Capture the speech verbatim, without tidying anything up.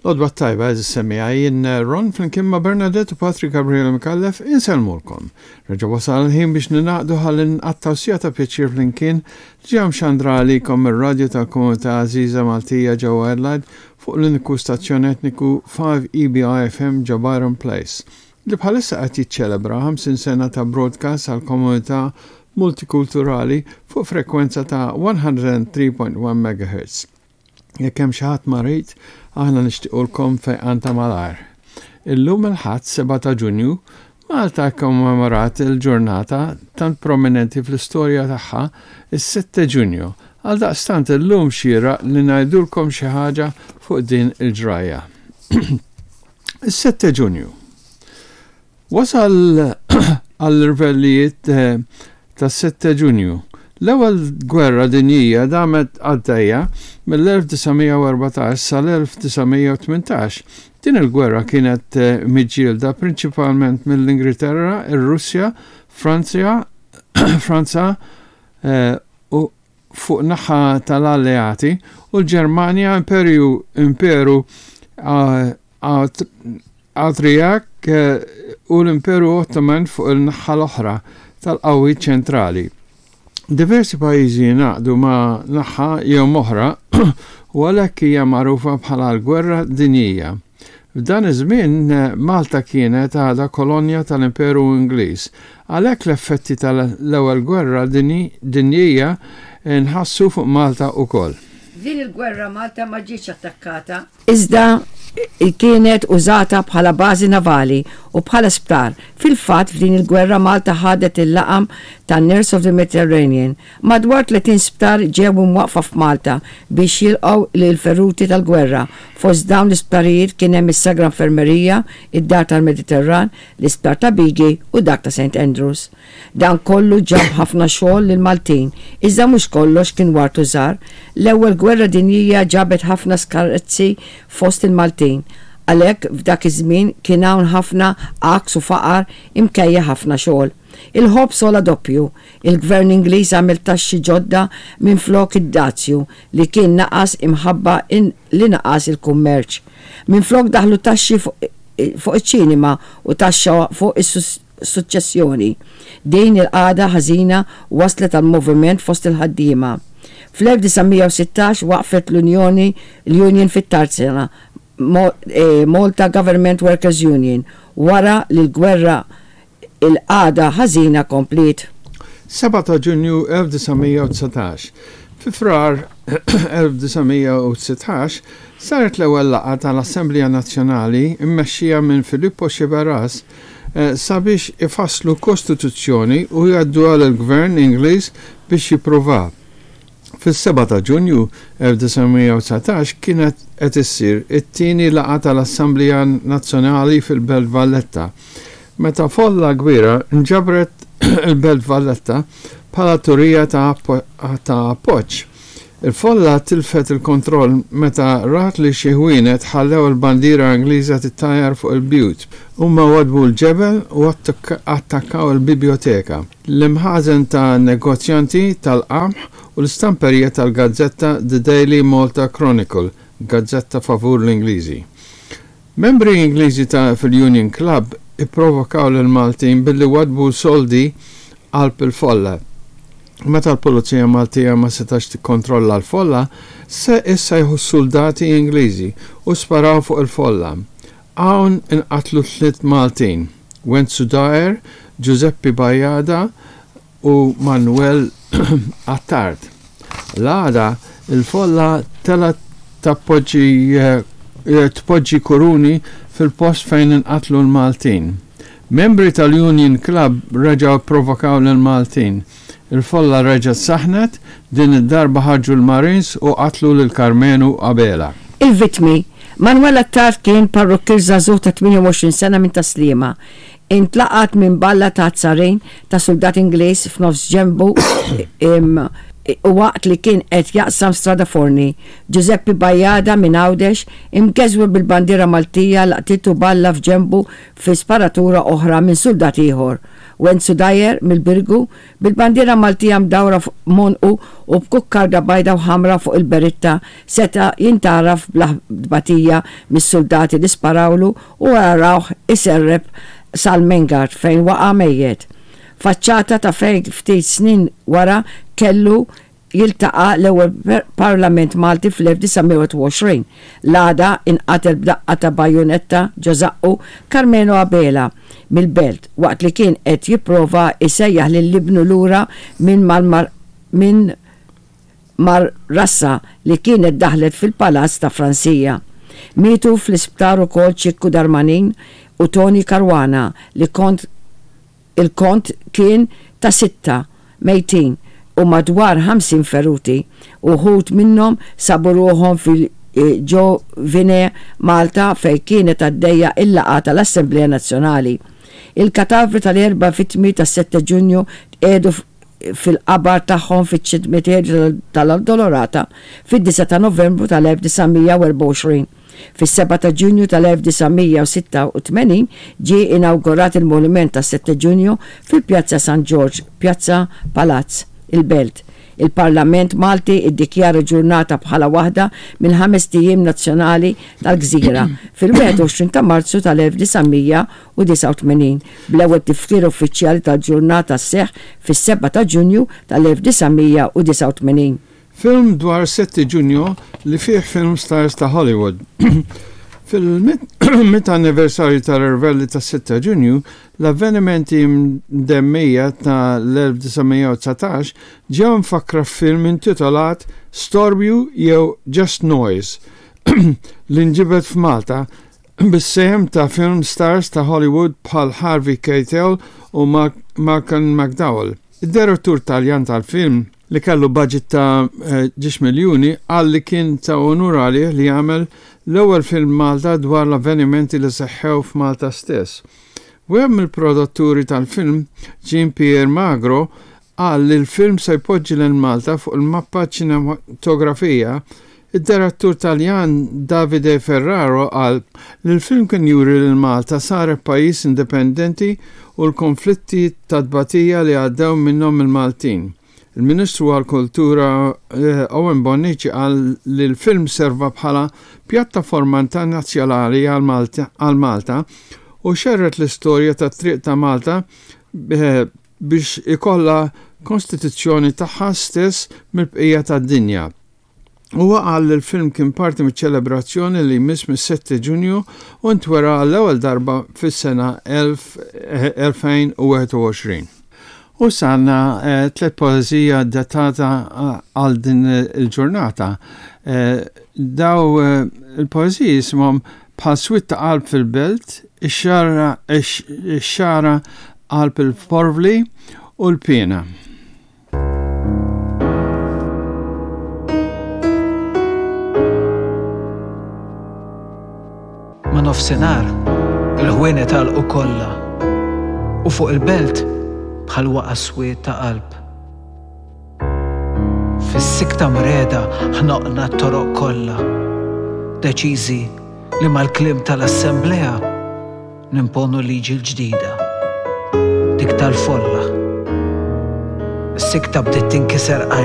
L-għodwa t-tajba, għeżież semmiegħa, jien Ron flimkien ma' Bernadette u Patrick Gabriele Micallef insellmulkom. Reġa' wasal il-ħin biex ningħaqdu ħalli nqattgħu siegħa ta' pjaċir flimkien li ġie mxandra għalikom mir-radju tal-komunità għażiża Maltija ġewwa Adelaide fuq l-uniku stazzjon etniku five E B I F M ġo Byron Place, li bħalissa qed jiċċelebra ħamsin sena ta' broadcast għal komunità multikulturali fuq frekwenza ta' mija u tlieta punt wieħed megahertz. Jekk hemm xi ħadd marid, aħna nixtiequlkom fejqan ta' malajr. Illum il-Ħadd sebgħa ta' Ġunju, Malta kommemorat il-ġurnata tant prominenti fl-istorja tagħha, is-sitta Ġunju. Għal daqstant illum xieraq li ngħidulkom xi ħaġa fuq din il-ġrajja. Is-sitta Ġunju. Wasal għall-irvellijiet eh, tas-sitta Ġunju. L-ewwel gwerra dinjija damet għaddejja mill-elf disa' mija u erbatax sal-elf disa' mija u tmintax. Din il-gwerra kienet eh, miġġielda prinċipalment mill-Ingilterra, ir-Russja, Franzja, Franza eh, u fuq naħa tal-alleati u l-Ġermanja, Imperju Imperu Awstrijak eh, u l-Imperu Ottoman fuq il-naħa l-oħra tal-qawwi ċentrali. Diversi pajjiżi ngħaqdu ma' naħa jew oħra u għalhekk hija magħrufa bħala l-Gwerra Dinjija. F'dan iż-żmien Malta kienet għadha kolonja tal-Imperu Ingliż. Għalhekk l-effetti tal-ewwel gwerra dinjija nħassu fuq Malta wkoll. F'din il-gwerra Malta ma ġietx attakkata. Iżda kienet użata bħala bażi navali u bħala sptar. Fil-fatt, f'din il-gwerra Malta ħadet il-laqam ta' Nurse of the Mediterranean. Madwar tletin sptar ġew imwaqqfa f'Malta biex jilqgħu lil feruti tal-gwerra. Fost dawn l-isptarijiet kien hemm is-Sagra Infermerija, id-Dar tal-Mediterran, l-Isptar ta' Bighi u dak ta' Saint Andrews. Dan kollu ġab ħafna xogħol lil Maltin, iżda mhux kollox kien ward u żahar. L-ewwel gwerra dinjija ġabet ħafna skarezzi fost il-Maltin. Għalhekk f'dak iż-żmien kien hawn ħafna għaks u faqar minkejja ħafna xogħol. Il-ħobż għola doppju, il-gvern Ingliż għamel taxxi ġodda minn flok id-dazju li kien naqas imħabba li naqas il-kummerċ. Minn flok daħlu taxxi fuq iċ-ċinema u taxxa fuq is-suċċessjoni. Din il-qagħda ħażina waslet għal moviment fost il-ħaddiema. Fl-elf disa' mija u sittax waqfet l-Unjoni l-Union fit-Tarzna, Malta Government Workers Union, wara li l-gwerra il-qagħda ħażina kompliet. sebgħa ta' Ġunju elf disa' mija u dsatax. Fi Frar elf disa' mija u dsatax saret l-ewwel laqgħa tal-Assemblea Nazzjonali mmexxija minn Filippo Sciberras eh, sabiex ifasslu kostituzzjoni u jgħaddu għal gvern Ingliż biex jipprova. Fis-sebgħa ta' Ġunju elf disa' mija u dsatax kienet qed issir it-tieni laqgħa tal-Assemblea Nazzjonali fil-Belt Valletta, meta folla kbira nġabret il-Belt Valletta bħala turija ta' appoġġ. Il-folla tilfet il-kontroll meta rat li xi ħwienet ħallew il-bandiera Ingliża tittajjar fuq il-bjut. Huma wadbu l-ġebel u attakkaw il-biblioteka, l-imħażen ta' negozjanti tal-qamħ u l-istamperija tal-gazzetta The Daily Malta Chronicle, gazzetta favur l-Ingliżi. Membri Ingliżi ta' fil-Union Club ipprovokaw lil Maltin billi wadbu soldi qalb il-folla. Meta l-Pulizija Maltija ma setax tikkontrolla l-folla, se issejħu soldati Ingliżi u sparaw fuq il-folla. Hawn inqatlu tliet Maltin, Wenzu Daer, Giuseppe Bajada u Manuel Attard. L-għada il-folla telgħet tappoġġi eh, tpoġġi kuruni fil-post fejn inqatlu l-Maltin. Membri tal-Union Club reġgħu provokaw l-Maltin. Il-folla reġgħet saħnet, din id-darba ħarġu l-Marines u qatlu lil Karmenu Abela. Il-vitmi: Manuel Attard kien parrukkir żagħżugħ ta' tmienja u għoxrin sena minn Tas-Sliema. Intlaqat minn balla ta' azzarin ta' soldat Ingliż f'nofs ġembu u waqt li kien qed jaqsam Strada Forni. Giuseppe Bajada minn Għawdex, imgeżwer bil-bandiera Maltija, laqtitu balla f'ġembu fi sparatura oħra minn soldat ieħor. Wenzu Dyer mill-Birgu bil-bandiera Maltija mdawra fuq m'għonqu u b'kukkarda bajda u ħamra fuq il-beritta seta' jintgħaraf bla tbatija mis-suldati li sparawlu u rawh iserrep sal-Main Guard fejn waqa' mejjet. Faċċata ta' fejn ftit snin wara kellu jiltaqa' l-ewwel Parlament Malti fl-elf disa' mija u għoxrin. L-għada inqatel b'daqqa ta' bajunetta ġo żaqqu Carmelo Abela mill-Belt waqt li kien qed jipprova jsejjaħ lil ibnu lura minn minn mar-rassa li kienet daħlet fil-Palazz ta' Franzija. Mietu fl-isptar ukoll Ċikku Darmanin u Tony Caruana li kont il-kont kien ta' sitta mejtin u madwar ħamsin feruti. Uħud minnhom sabu ruħhom fil-Ġovine Malta fej kienet għaddejja il-laqgħa tal-Assemblea Nazzjonali. Il-katavri tal-erba' vittmi tas-sitta Ġunju tqiegħdu fil-qabar tagħhom fiċ-ċimiterju tal-Addolorata fid-disgħa ta' Novembru tal-elf disa' mija u erbgħa u għoxrin. Fis-sebgħa ta' Ġunju tal-elf disa' mija u sitta u tmenin ġie inawgurat il-Monument tas-sitta Ġunju fil-Pjazza San Ġorġ, Pjazza Palazz, il-Belt. Il-Parlament Malti iddikjara ġurnata bħala waħda mill-ħames ijiem nazzjonali tal-Gżira fil-wieħed u għoxrin ta' Marzu tal-elf disa' mija u disgħa u tmenin, bl-ewwel tifkir uffiċjali tal-ġurnata sseħħ fis-sebgħa ta' Ġunju tal-elf disa' mija u disgħa u tmenin. Film dwar sette Ġunju li fih film stars ta' Hollywood. Fil-mitt anniversarju tal-irvelli ta' sitta Ġunju, l-avvenimenti mdemmija ta' l-elf disa' mija u dsatax ġew mfakkra f'film intitolat Storbju jew Just Noise li nġibed f'Malta bis-sehem ta' film stars ta' Hollywood bħal Harvey Keitel u Malcolm McDowell. Id-direttur Taljan tal-film, li kellu budget ta' ġiex miljuni, qal li kien ta' onur għalih li jagħmel l-ewwel film Malta dwar l-avvenimenti li seħħew f'Malta stess. Wieħed mill-produtturi tal-film, Jean Pierre Magro, qal li l-film se jpoġġi lil Malta fuq il-mappa ċinematografija. Id-direttur Taljan Davide Ferraro qal li l-film kien juri li Malta saret pajjiż indipendenti u l-konflitti ta' tbatija li għaddew minnhom il-Maltin. Il-Ministru għal-Kultura eh, Owen Bonnici qal li l-film serva bħala pjattaforma internazzjonali għal Malta u xerred l-istorja ta' triq ta' Malta eh, biex ikolla kostituzzjoni tagħha stess mill-bqija tad-dinja. Huwa qal li l-film kien parti miċ-ċelebrazzjoni li jmiss mis-sitta Ġunju u ntwera għall-ewwel darba fis-sena elfejn u wieħed u għoxrin. U sanna eh, tliet poeżija datata eh, għal din il-ġurnata. Eh, daw il-poeżiji jisimhom Bħal Swied ta' Qalb fil-Belt, ix-Xagħra Qalb il-Porvli u l-Piena. Ma' nofsinhar il-ħwienet għalqu kollha u fuq il-belt bħal waqa' swied ta' qalb. Fis-sikta mreda ħnoqna t-toroq kollha, deċiżi li mal-kliem tal-assemblea nimponu liġi l-ġdida, dik tal-folla. Is-sikta bdiet tinkiser qajla.